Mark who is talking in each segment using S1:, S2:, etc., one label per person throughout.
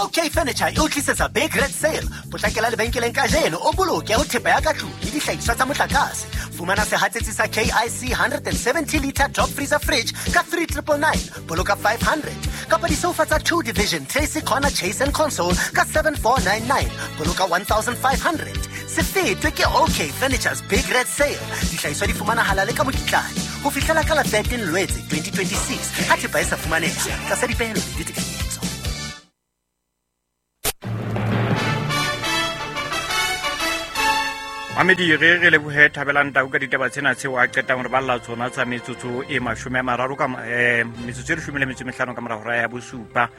S1: OK Furniture e o tlisetsa Big Red Sale. Potlakela lebenkeleng kajeno o boloke ho thepa ya ka tlung le dihlahiswa tsa motlakase. Fumana sehatsetsi sa KIC 170 liter top freezer fridge ka 3999, boloka 500. Kapa disoufa tsa 2 division Tracy Corner Chase and Console ka 7499, boloka 1500. Se fetwe ke OK Furniture's Big Red Sale. Dihlahiswa di fumanahala le ka mokitlane ho fihlela ka la 13 Lwetse 2026 ha thepa e sa fumaneha tlasa dipehelo le ditekanyetso.
S2: Mamedi, re re lebohe Thabelang Tau ka ditaba tsena tseo a qetang re balla tsona tsa metsotso e 30 ka metsotso e 15 ka mora hora ya bosupa.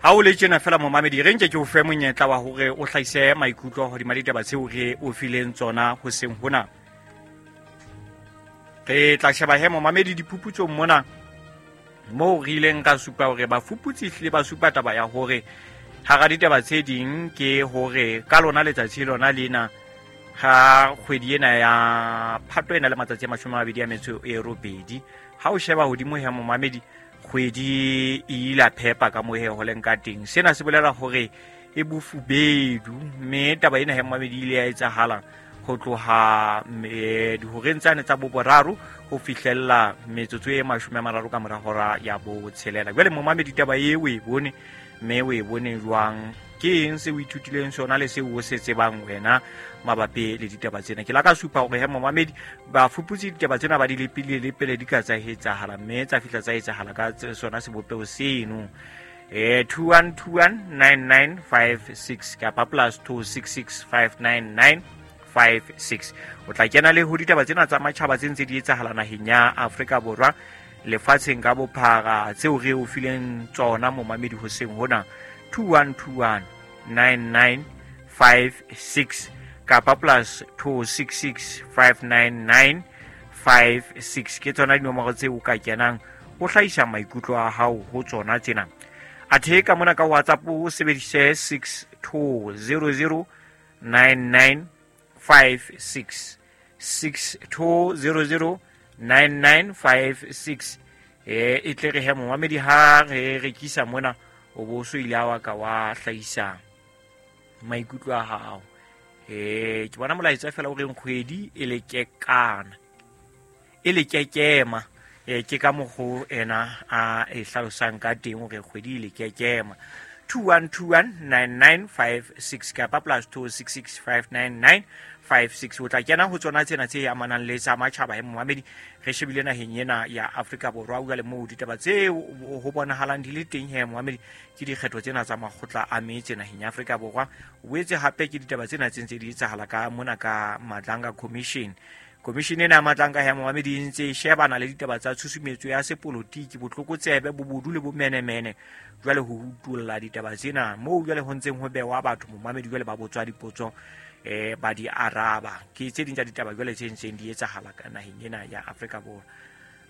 S2: Ha o le tjena fela momamedi, re nke ke o fe monyetla wa hore o hlahise maikutlo hodima ditaba tseo re o fileng tsona hoseng hona. Re tla sheba he momamedi diphuputsong mona moo re ileng ra supa hore bafuputsi ehlile ba supa taba ya hore hara ditaba tse ding ke hore ka lona letsatsi lona lena ha kgwedi ena ya Phato ena le matsatsi a 28, ha o sheba hodimo he momamedi, kgwedi e ila phepa ka mohe ho leng ka teng. Sena se bolela hore e bofubedu, mme taba ena he momamedi ile ya etsahala ho tloha dihoreng tsane tsa boboraro ho fihlella metsotso e 30 ka mora hora ya botshelela. Jwale momamedi, taba e o e bone, mme o e bone jwang? Ke eng se o ithutileng sona le seo o se tsebang wena mabapi le ditaba tsena? Ke la ka supa hore he momamedi, bafuputsi ditaba tsena ba di lepile le pele di ka tsa etsahala, mme tsa fihla tsa etsahala ka sona sebopeho seno. 21219956 kapa plus 26659956. O tla kena le ho ditaba tsena tsa matjhaba tse ntse di etsahala naheng ya Afrika Borwa, lefatsheng ka bophara, tseo re o fileng tsona momamedi hoseng hona. 21219956 kapa plus 26659956 ke tsona dinomoro tseo o ka kenang o hlahisa maikutlo a hao ho tsona tsena. Athe ka mona ka WhatsApp o sebedise 62009956, 62009956. E tle re he momamedi ha re rekisa mona o bo so ile wa ka wa hlahisa maikutlo a hao. Ke bona molaetsa fela o reng kgwedi e le kekana, e le kekema. Ke ka mokgo ena a e hlalosang ka teng hore kgwedi e le kekema. 21219956 kapa plus 26659956. O tla kena ho tsona tsena tse amanang le tsa matjhaba he momamedi. Re shebile naheng ena ya Afrika Borwa jwale moo ditaba tse ho bonahalang di le teng he momamedi ke dikgetho tsena tsa makgotla a metse naheng ya Afrika Borwa. O boetse hape ke ditaba tsena tse ntse di etsahala ka mona ka Madlanga Commission. Commission ena ya Madlanga ya momamedi e ntse e shebana le ditaba tsa tshusumetso ya sepolotiki, botlokotsebe, bobodu le bomenemene. Jwale ho utolla ditaba tsena moo jwale ho ntseng ho bewa batho momamedi jwale ba botswa dipotso, ba di araba. Ke tse ding tsa ditaba jwale tse ntseng di etsahala ka naheng ena ya Afrika Borwa.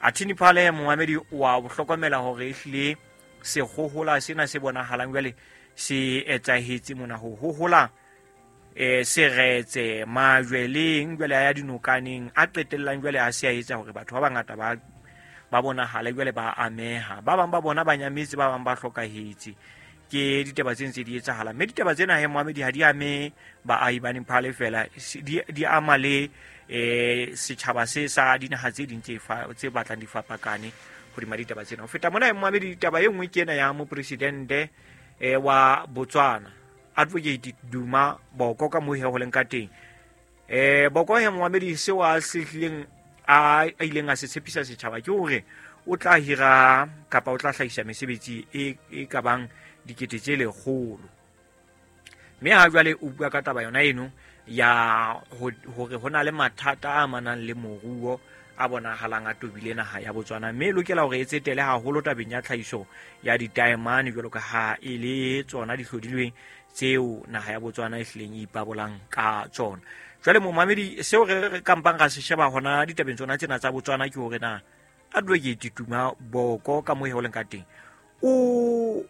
S2: Athini Phale momamedi wa ho hlokomela hore ehlile sekgohola sena se bonahalang jwale se etsahetse mona ho hohola seretse majweleng jwale a ya dinokaneng a qetellang jwale a se a etsa hore batho ba bangata ba bonahale jwale ba ameha. Ba bang ba bona ba nyametse, ba bang ba hlokahetse. Ke ditaba tse ntse di etsahala, mme ditaba tsena he momamedi ha di ame baahi ba Nepal fela, di ama le setjhaba se sa dinaha tse ding tse batlang di fapakane hodima ditaba tsena. Ho feta mona he momamedi, taba e nngwe ke ena ya mopresidente wa Botswana Advocate Duma Boko ka moo he ho leng ka teng. Boko he momamedi seo a se hlileng a ileng a se tshepisa setjhaba ke hore o tla hira kapa o tla hlahisa mesebetsi e ka bang 100,000. Mme ha jwale o bua ka taba yona eno ya hore ho na le mathata a amanang le moruo a bonahalang a tobile naha ya Botswana, mme e lokela hore e tsetele haholo tabeng ya tlhahiso ya ditaemane jwalo ka ha e le tsona di hlodilweng tseo naha ya Botswana e hlileng e ipabolang ka tsona. Jwale momamedi, seo re kampang ra se sheba hona ditabeng tsona tsena tsa Botswana ke hore na Advocate Duma Boko ka moo ho leng ka teng o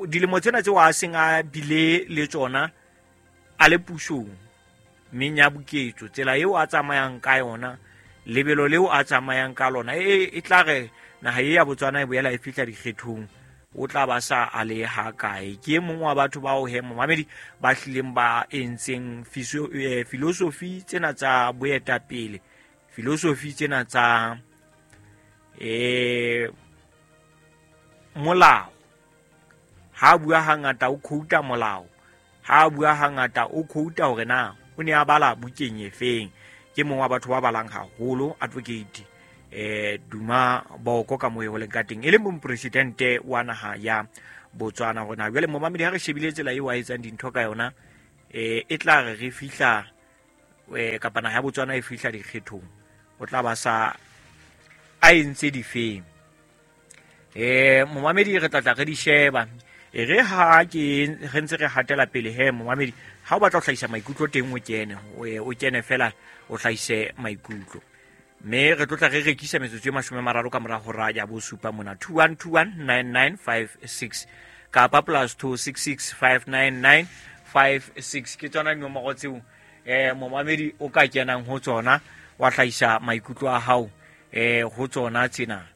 S2: dilemo tsena tseo a seng a bile le tsona a le pusong, mme ya boketso tsela eo a tsamayang ka yona, lebelo leo a tsamayang ka lona, e tla re naha e ya Botswana e boela e fihla dikgethong, o tla ba sa a le ha kae. Ke e mong wa batho bao he momamedi ba hlileng ba entseng filosofi tsena tsa boetapele, filosofi tsena tsa molao. Ha bua hangata o quota molao, ha bua hangata o quota hore na o ne a bala bukeng efeng. Ke mong wa batho ba balang haholo, Advocate Duma Boko ka moo ho leng ka teng, e leng mopresidente wa naha ya Botswana. Hore na jwale momamedi ha re shebile tsela eo a etsang dintho ka yona, e tla re re fihla kapa naha ya Botswana e fihla dikgethong, o tla ba sa a entse difeng. Momamedi re tla re di sheba. E re ha ke re ntse re hatela pele he momamedi, ha o batla ho hlahisa maikutlo teng o kene, o kene fela o hlahise maikutlo. Mme re tlo tla re rekisa metsotso e 30 ka mora hora ya bosupa mona, 21219956 kapa +266 59956. Ke tsona dinomoro tseo momamedi o ka kenang ho tsona wa hlahisa maikutlo a hao ho tsona tsena.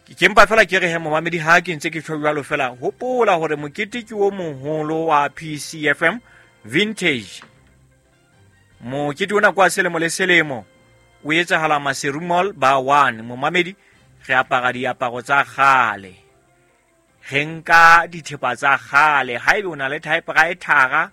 S2: Ke mpa fela ke re he momamedi, ha ke ntse ke tjho jwalo fela, hopola hore mokete ke o moholo wa PCFM Vintage. Mokete ona kwa selemo le selemo o etsahala Maseru Mall ba 1. Momamedi, re apara diaparo tsa kgale, re nka dithepa tsa kgale. Haebe o na le typewriter,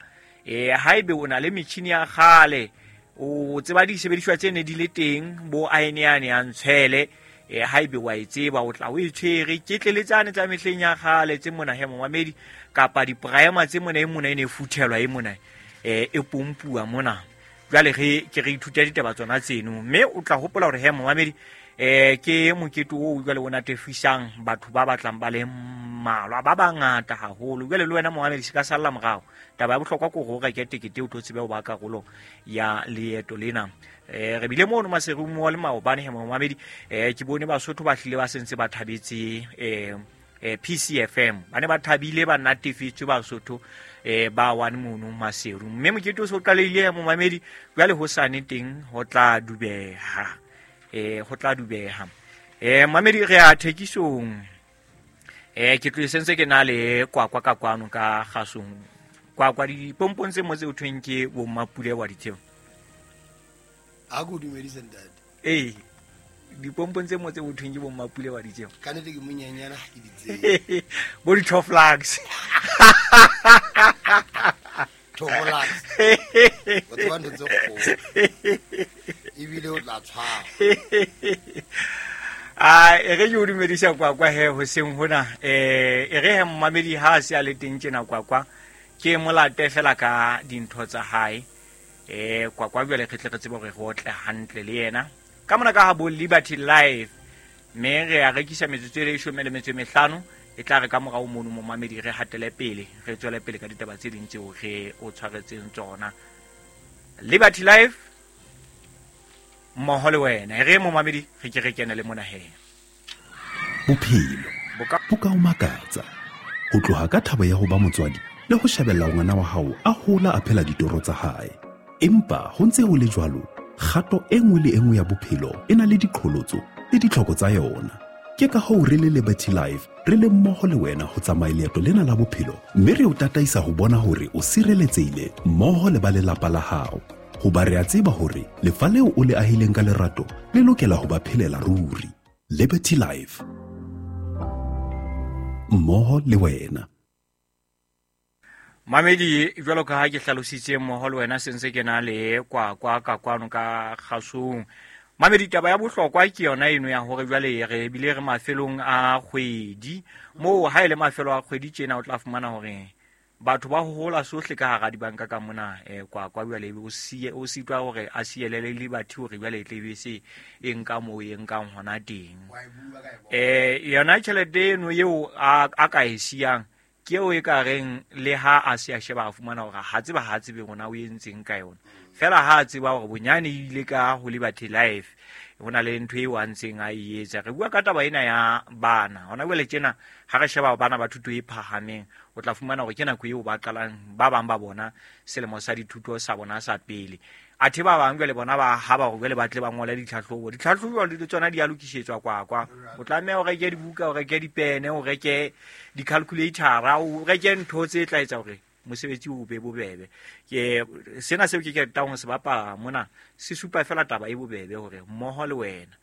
S2: haebe o na le metjhini ya kgale, o tseba disebediswa tse ne di le teng bo aeneane ya ntshwele, haebe wa e tseba o tla o e tshwere. Ke tleletsane tsa mehleng ya kgale tse mona he momamedi, kapa di-primer tse mona e mona e ne e futhelwa e mona e pompuwa mona. Jwale re ke re ithuta ditaba tsona tseno, mme o tla hopola hore he momamedi ke mokete oo jwale o natefisang batho ba batlang ba le mmalwa ba bangata haholo. Jwale le wena momamedi se ka salla morao. Taba ya bohlokwa ke hore o reke tekete o tlo tsebe ho ba karolo ya leeto lena. Re bile mono Maseru Mall maobane he momamedi, ke bone Basotho ba hlile ba sentse ba thabetse PCFM. Ba ne ba thabile, ba natefetswe Basotho ba one mono Maseru. Mme mokete o so qalehile momamedi, jwale ho sane teng ho tla dubeha. Ho tla dubeha. Mamedi re a thekisong. Ke tlo sentse ke na le kwakwa ka kwano ka kgasong. Kwakwa dipompong tse mo tse o thweng ke bo Mmapule wa ditseo.
S3: A go dumedise ntate.
S2: Dipompong tse mo tse o thweng ke bo Mmapule wa ditseo.
S3: Ka nnete ke monyenyana ha ke di tsebe.
S2: Bo di-Toflax.
S3: Toflax. O tseba ntho tse kgolo. Ebile o tla tshwara.
S2: E re ke o dumedisa kwakwa he hoseng hona. E re he momamedi ha a se a le teng tjena kwakwa, ke molate fela ka dintho tsa hae. Kwakwa jwale re tle re tsebe hore re otle hantle le yena. Ka mona ka ha bo Liberty Life, mme re a rekisa metsotso e 15, e tla re ka morao mono momamedi re hatele pele, re tswele pele ka ditaba tse ding tseo re o tshwaretseng tsona. Liberty Life mmoho le wena. E re momamedi re ke re kene le mona he.
S4: Bophelo bo ka o makatsa. Ho tloha ka thabo ya ho ba motswadi le ho shebella ngwana wa hao a hola a phela ditoro tsa hae. Empa ho ntse ho le jwalo, kgato e nngwe le e nngwe ya bophelo e na le diqholotso le ditlhoko tsa yona. Ke ka hoo re le Liberty Life re le mmoho le wena ho tsamaya leeto lena la bophelo, mme re o tataisa ho bona hore o sireletsehile mmoho le ba lelapa la hao. Hoba re a tseba hore lefa leo o le ahileng ka lerato le lokela ho ba phelela ruri. Liberty Life, mmoho le wena.
S2: Mamedi, jwalo ka ha ke hlalositse mmoho le wena, sentse ke na le kwakwa ka kwano ka kgasong. Mamedi, taba ya bohlokwa ke yona eno ya hore jwale re bile re mafelong a kgwedi. Moo ha e le mafelo a kgwedi tjena o tla fumana hore batho ba hola sohle ka hara dibanka ka mona, kwakwa jwale o siye, o sitwa hore a sielele Liberty hore jwale e tle be se e nka moo e nkang hona teng. Yona tjhelete eno eo a ka e siyang ke eo e ka reng le ha a se a sheba a fumana hore ha tseba ha tsebe hore o entseng ka yona. Fela ha a tseba hore bonyane e ile ka ho Liberty Life, ho na le ntho eo a ntseng a e etsa. Re bua ka taba ena ya bana. Hona jwale tjena ha re sheba bana ba thuto e phahameng, o tla fumana hore ke nako eo ba qalang ba bang ba bona selemo sa dithuto sa bona sa pele. Athe ba bang jwale bona ba haba hore jwale ba tle ba ngole ditlhahlobo. Ditlhahlobo le tsona di a lokisetswa kwakwa. O tlameha o reke dibuka, o reke dipene, o reke di-calculator-a, o reke ntho tse tla etsa hore mosebetsi o be bobebe. Ke sena seo ke ketang ho se bapala mona se supa fela taba e bobebe hore mmoho le wena.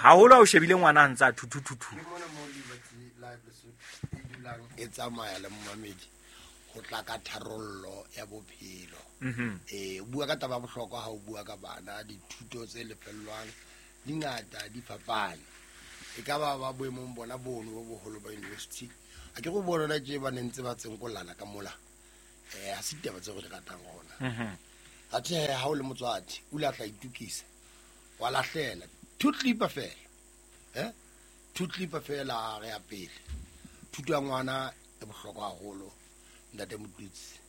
S2: Haholo ha o shebile ngwana a ntse a thuthuthu.
S3: Ke mona mo Liberty Live Lesotho e dulang e tsamaya le momamedi ho tla ka tharollo ya bophelo. O bua ka taba ya bohlokwa ha o bua ka bana, dithuto tse lefellwang di ngata, di fapane. E ka ba ba boemong bona bono bo boholo ba university. A ke go bona tje ba ne ntse ba tsenkolana ka mola. Ha se ditaba tse re di ratang rona. Athe ha o le motswadi, o ile a tla itukisa. Wa lahlela two clipper fela. Two clipper fela re ya pele. Thuto ya ngwana e bohlokwa haholo, ntate Motutsi.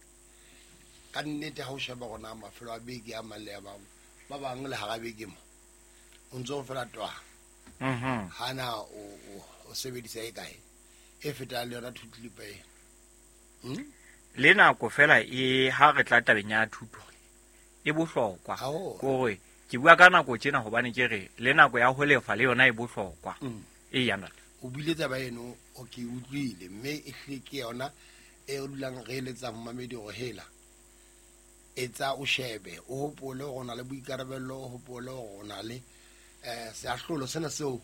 S3: Ka nnete ha o sheba rona mafelo a beke a mang le a bang, ba bang le hara beke mo. O ntso fela twa. Hana o sebedisa e kae? E feta le yona two clipper e.
S2: Le nako fela e ha re tla tabeng ya thuto e bohlokwa. Kore ke bua ka nako tjena hobane ke re le nako ya ho lefa le yona e bohlokwa. E yana.
S3: O buile taba eno o ke utlwile mme e hle ke yona e re dulang re eletsa momamedi hore hela etsa o shebe o hopole hore o na le boikarabello, o hopole hore o na le seahlolo sena seo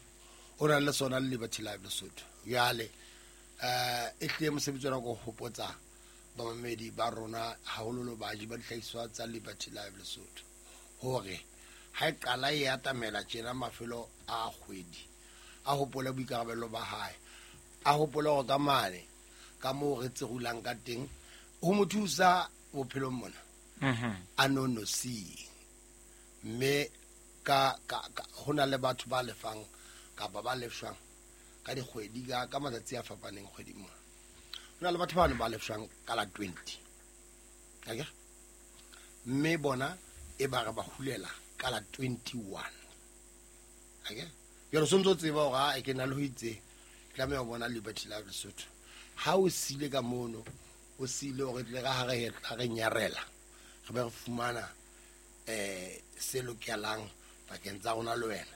S3: o nang le sona le Liberty Live Lesotho. Jwale e hle mosebetsi ona ko hopotsa bamamedi ba rona hahololo baji ba dihlahiswa tsa Liberty Live Lesotho hore ha e qala e atamela tjena mafelo a kgwedi, a hopole boikarabello ba hae, a hopole hore ka mane ka moo re tserulang ka teng ho mo thusa bophelong mona. A nonosi mme ka ho na le batho ba lefang kapa ba lefshwang ka dikgwedi ka matsatsi a fapaneng kgweding mona. Ho na le batho ba ba lefshwang ka la 20. Akere? Mme bona e ba re ba hulela ka la 21. Akere? Jwale o sontso tseba hore ha ke na le ho itse tlameha ho bona Liberty Live Lesotho. Ha o sile ka mono, o sile hore tle ka ha re hetla re nyarela, re be re fumana se lokelang pakeng tsa rona le wena,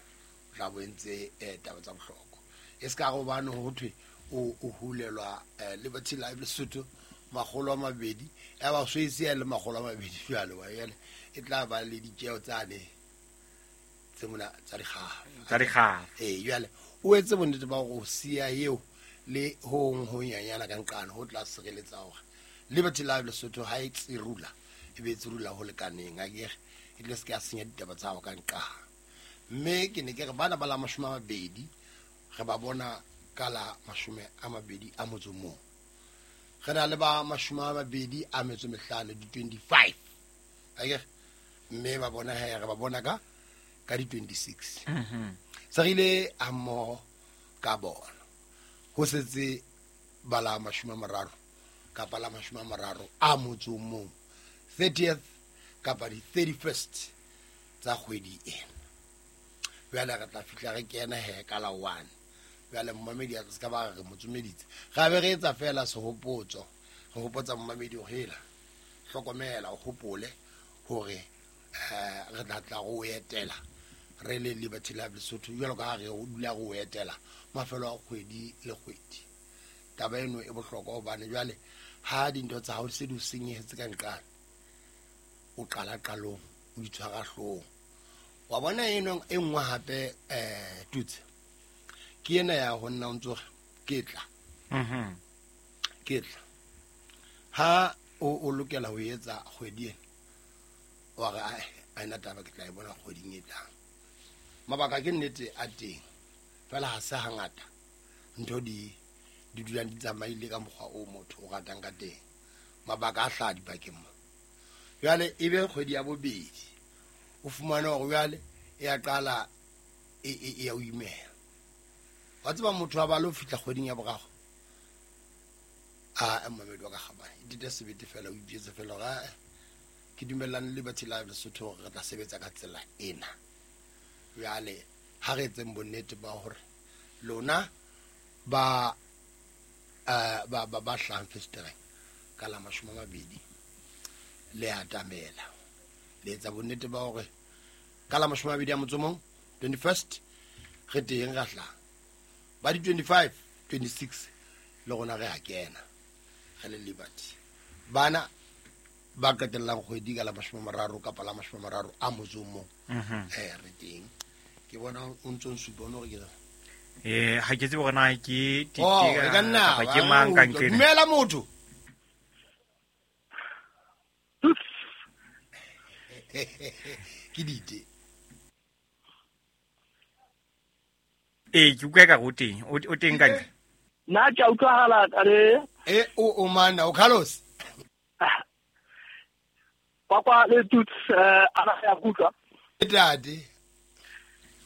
S3: o tla bo entse taba tsa bohlokwa. E se ka re hobane ho thwe o hulelwa Liberty Live Lesotho 200, ya ba so e se le 200 jwale wa yale e tla ba le ditjeo tsane tse mona tsa dikgafa.
S2: Tsa dikgafa.
S3: Jwale o etse bonnete ba hore o siya eo le ho ho nyanyana ka nqane ho tla sireletsa hore Liberty Live Lesotho ha e tsirula e be tsirula ho lekaneng, akere e tle se ka senya ditaba tsa hao ka nqane. Mme ke ne ke re bana ba la 20 re ba bona ka la 21. Re na le ba 25 di 25. Akere mme ba bona he re ba bona ka di 26. Se re ile ha mmoho ka bona. Ho setse ba la 30 kapa la 31, 30th kapa di 31st tsa kgwedi ena. Jwale re tla fihla re kena he ka la 1. Jwale momamedi a se ka ba re mo tsomeditse. Ra be re etsa fela sehopotso, re hopotsa momamedi hore hela hlokomela, o hopole hore re tla tla go etela re le Liberty Live Lesotho jwalo ka ha re dula go etela mafelo a kgwedi le kgwedi. Taba eno e bohlokwa hobane jwale ha dintho tsa hao se di o senyehetse ka nqane, o qala qalong, o itshwara hloohong. Wa bona eno e nngwe hape Tutsi ke ena ya ho nna o ntso re ke tla. Ke tla. Ha o lokela ho etsa kgwedi ena, wa re a ena taba ke tla e bona kgweding e tlang. Mabaka ke nnete a teng, fela ha se hangata ntho di dulang di tsamaile ka mokgwa o motho o ratang ka teng. Mabaka a hlaha dibakeng mo. Jwale e be kgwedi ya bobedi, o fumane hore jwale e a qala e ya o imela. Wa tseba motho a ba lo fihla kgweding ya boraro, a momamedi wa ka kgabane, e dite sebete fela, o ipjetse fela hore ke dumellane le Liberty Live Lesotho hore re tla sebetsa ka tsela ena. Jwale ha re etseng bonnete ba hore lona ba ba hlahang festereng ka la 20 le atamela. Le etsa bonnete ba hore ka la 21, 21st re teng ra hlaha. Ba di 25, 26 le rona re a kena re le Liberty. Bana ba qetellang kgwedi ka la 30 kapa la 31, re teng. Ke bona o ntso nsupa o no re ke
S2: ha ke tsebe hore na ke
S3: e ka nna
S2: ke mang ka nqena.
S3: Dumela motho. Ke dite.
S2: Ke utlwa ka o teng, o teng ka ntle.
S5: Nna ke a utlwahala re.
S3: O mana o Carlos.
S5: Kwakwa le Tuts ana ya kutlwa.
S3: Ntate.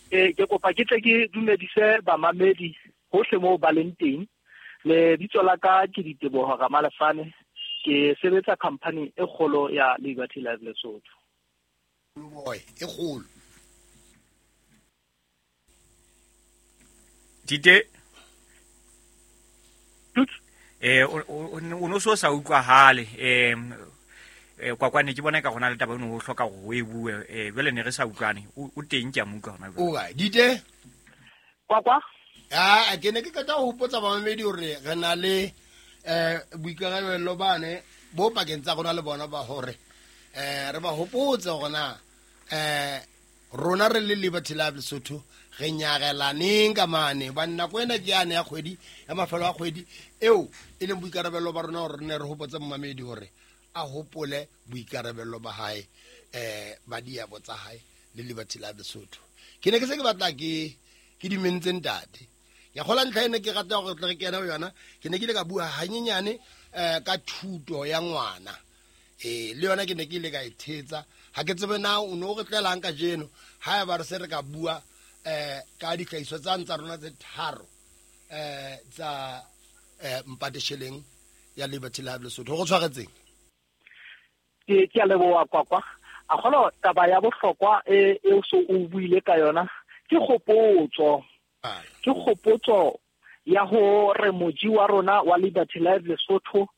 S5: Ke kopa ke tle ke dumedise bamamedi hohle moo ba leng teng. Le bitso la ka ke Diteboho Ramalefane, ke sebetsa company e kgolo ya Liberty Life Lesotho.
S3: Boy, e kgolo.
S2: Dite o no so sa utlwahale kwakwane ke bona ka gona le taba eno o hloka go e bue jwale ne re sa utlwane o teng ke a mo utlwa hona jwale.
S3: O kae Dite?
S5: Kwakwa?
S3: Ke ne ke qeta ho hopotsa bamamedi hore re na le boikarabelo bane bo pakeng tsa rona le bona ba hore re ba hopotse hore na rona re le Liberty Life Lesotho re nyarelaneng ka mane ba nako ena ke yane ya kgwedi ya mafelo a kgwedi eo e leng boikarabelo ba rona hore re ne re hopotse momamedi hore a hopole boikarabelo ba hae ba diabo tsa hae le Liberty Life Lesotho. Ke ne ke se ke batla ke dimentse ntate. Ya kgola ntlha ene ke rata hore re kene ho yona. Ke ne ke ile ka bua hanyenyane ka thuto ya ngwana. Le yona ke ne ke ile ka e thetsa. Ha ke tsebe na o no re tlelang kajeno ha eba re se re ka bua ka ditlhahiso tsa ntsa rona tse tharo tsa mpatesheleng ya Liberty Life Lesotho. Go tshwaretseng.
S5: Ke a leboha Kwakwa. A kgolo taba ya bohlokwa e o so o buile ka yona ke kgopotso. Ke kgopotso ya hore moji wa rona wa Liberty Life Lesotho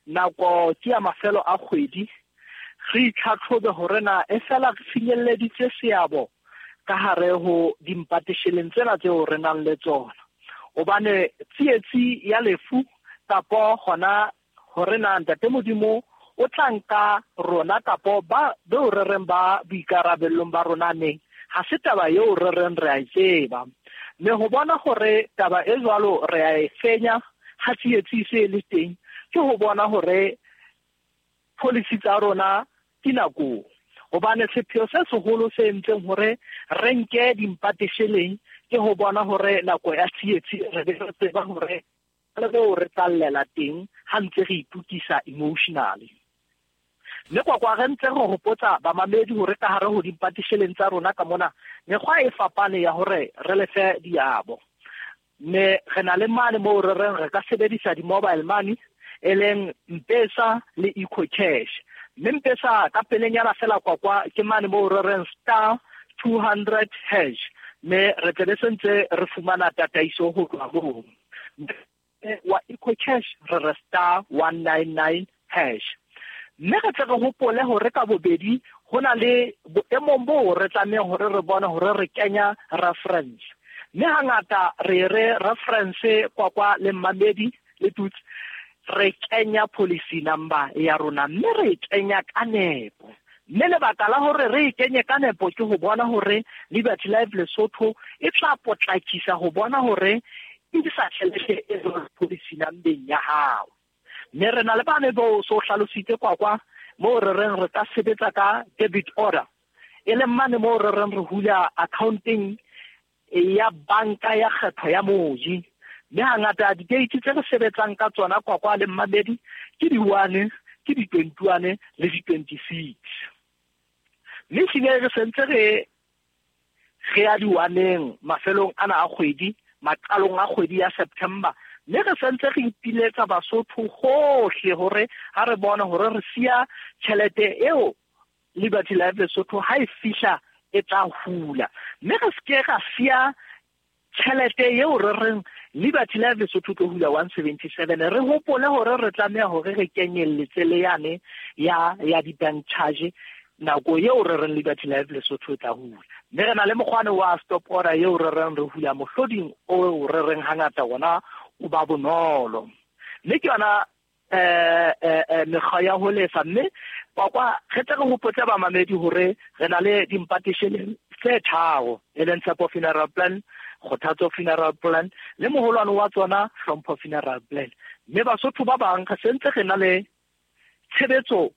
S5: nako ke ya mafelo a kgwedi re itlhatlhobe hore na e fela re finyelleditse seabo ka hare ho dimpatesheleng tsena tseo re nang le tsona. Hobane tsietsi ya lefu kapo hona hore na Ntate Modimo o tla nka rona kapo ba beo re reng ba boikarabellong ba rona neng, ha se taba eo re reng re a e tseba. Mme ho bona hore taba e jwalo re a e fenya ha tsietsi se le teng, ke ho bona hore policy tsa rona di nakong. Hobane sepheo se seholo se entseng hore re nke dimpatesheleng ke ho bona hore nako ya tsietsi re be re tseba hore le moo re tlallela teng ha ntse re itukisa emotionally. Mme Kwakwa re ntse re hopotsa bamamedi hore ka hare ho dimpatesheleng tsa rona ka mona mekgwa e fapane ya hore re lefe diabo. Mme re na le mane moo re reng re ka sebedisa di-mobile money e leng M-Pesa le EcoCash. Mme M-Pesa ka pelenyana fela Kwakwa ke mane moo re reng *200#, mme re tle be sentse re fumana tataiso ho tloha moo. Wa EcoCash re re *199#. Mme re tle re hopole hore ka bobedi ho na le boemong boo re tlamehang hore re bone hore re kenya reference. Mme hangata re re reference Kwakwa le mmamedi le Tuts re kenya policy number ya rona, mme re kenya ka nepo. Mme lebaka la hore re e kenye ka nepo ke ho bona hore Liberty Life Lesotho e tla potlakisa ho bona hore e sa tjhelete e policy number ya hao. Mme re na le bane bo so hlalositse Kwakwa moo re reng re ka sebetsa ka debit order, e leng mane moo re reng re hula accounting ya banka ya kgetho ya moji. Mme hangata di-date tse re sebetsang ka tsona Kwakwa le mmamedi ke di-1, ke di-21 le di-26. Mme ehlile re sentse re ya di-1eng mafelong ana a kgwedi, maqalong a kgwedi ya September. Mme re sentse re ipiletsa Basotho hohle hore ha re bone hore re siya tjhelete eo Liberty Life Lesotho ha e fihla e tla hula. Mme re seke ra siya tjhelete eo re reng Liberty Life Lesotho tlo hula 177. Re hopole hore re tlameha hore re kenyelletse le yane ya di-bank charge Nako eo re reng Liberty Life Lesotho e tla hula. Mme re na le mokgwane wa stop order eo re reng re hula mohloding o re reng hangata wona o ba bonolo. Mme ke yona mekgwa ya ho lefa. Mme kwakwa re tle re hopotse bamamedi hore re na le dimpatishene tse tharo, e leng Tshepo Funeral Plan, Kgothatso Funeral Plan le moholwane wa tsona Hlompho Funeral Plan. Mme Basotho ba bang re sentse re na le tshebetso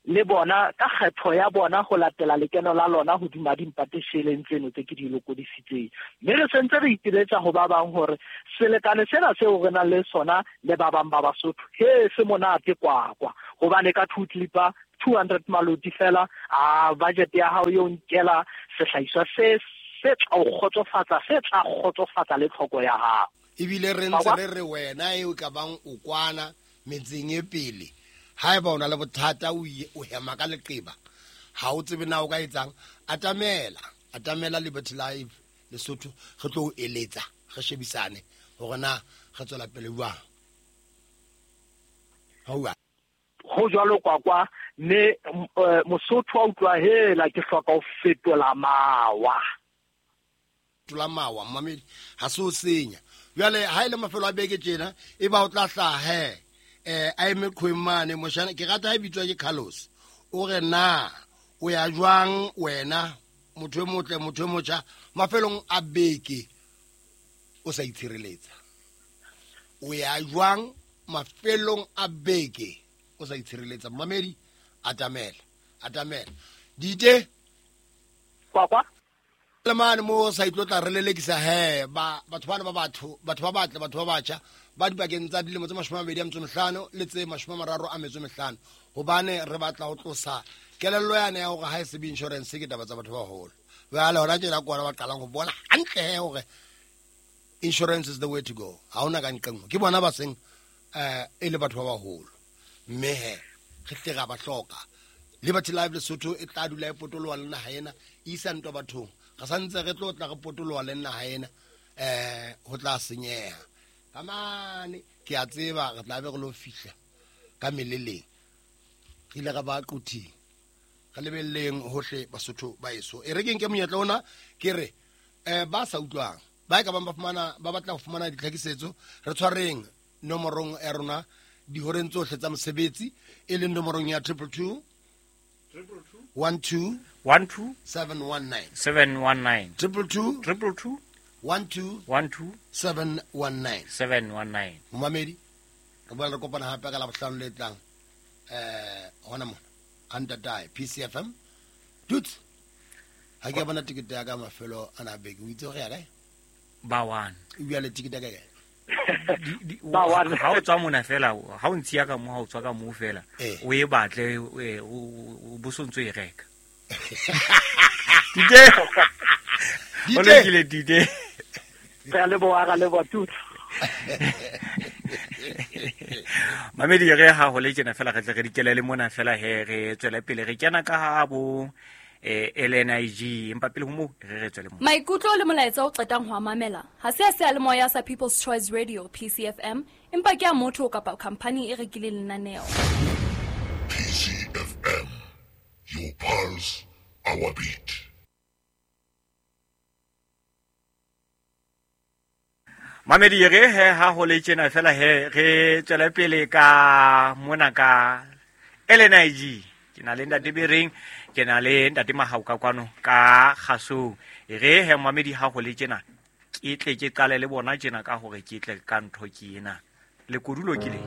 S5: le bona ka kgetho ya bona ho latela lekeno la lona hodima dimpatesheleng tseno tse ke di lokodisitseng. Mme re sentse re ipiletsa ho ba bang hore selekane sena seo re nang le sona le ba bang ba Basotho he se monate kwakwa, hobane ka 2 clipper 200 maloti fela a budget ya hao yo nkela sehlahiswa se se tla o kgotsofatsa, se tla kgotsofatsa le tlhoko ya hao.
S3: Ebile re ntse re re wena eo ka bang o kwana metseng e pele, haeba o na le bothata o hema ka leqeba, ha o tsebe na o ka etsang, atamela Liberty Life Lesotho, re tlo o eletsa, re shebisane hore na re tswela pele jwang.
S5: Ho jwalo kwakwa. Mme Mosotho a utlwa hela ke hloka ho fetola mawa.
S3: Fetola mawa mmamedi, ha se o senya. Jwale ha ile mafelo a beke tjena e ba o tla hlaha a eme qhweng mane moshana, ke rata ha e bitswa ke Carlos. O re na o ya jwang wena motho e motle, motho e motjha, mafelong a beke o sa itshireletsa? O ya jwang mafelong a beke o sa itshireletsa? Mmamedi, atamela dite
S5: kwakwa
S3: le mane mo sa itlotla re lelekisa he ba batho bana ba batho ba batle, batho ba batjha ba dibakeng tsa dilemo tse 25 le tse 35, hobane re batla ho tlosa kelello yane ya hore ha e se be insurance ke taba tsa batho ba baholo. Jwale hona tjena ke ona ba qalang ho bona hantle he hore insurance is the way to go. Ha hona ka nqengwe ke bona ba seng e le batho ba baholo, mme he re tle ra ba hloka. Liberty Life Lesotho e tla dula e potoloha le naha ena, e isa ntwa bathong. Re santse re tlo tla re potoloha le naha ena, ho tla senyeha. Ka mane ke a tseba re tla be re lo fihla ka meleleng, re ile ra ba qothing, re lebelleng hohle Basotho ba eso. E re ke nke monyetla ona ke re ba sa utlwang ba ka bang ba fumana, ba batla ho fumana ditlhakisetso, re tshwareng nomorong ya rona dihoreng tsohle tsa mosebetsi, e leng nomorong ya 222 12
S2: 12
S3: 719
S2: 719
S3: 222
S2: 222
S3: 12
S2: 12
S3: 719
S2: 719.
S3: Momamedi, re boela re kopana hape ka Labohlano le tlang hona mona Antatae PCFM. Dudes, ha ke bona tikete ya ka mafelo ana beke, o itse hore ya kae?
S2: Ba one.
S3: O le tikete ya kae?
S2: Ha o tswa mona fela, ha o ntshiya ka mo, ha o tswa ka mo fela, o e batle, o bo sontso e reka. Dite. O lokile dite.
S5: Re a leboha, ra leboha tutso.
S2: Mamedi re ha ho le tjena fela re tle re dikelele mona fela he re tswele pele re kena ka ha bo LNIG, empa pele ho moo re tswele mo.
S6: Maikutlo le molaetsa o qetang ho mamela ha se a seyalemoya sa People's Choice Radio PCFM, empa ke a motho kapa company e rekileng lenaneo.
S7: PCFM, your pulse, our beat.
S2: Mamedi re he ha ho le tjena fela he re tswele pele ka mona ka LNIG. Ke na le ntate Bereng, ke na le ntate Mahau ka kwano ka kgasong. Re he mamedi ha ho le tjena ke tle ke qale le bona tjena ka hore ke tle ka ntho ke ena. Le kodulo ke le.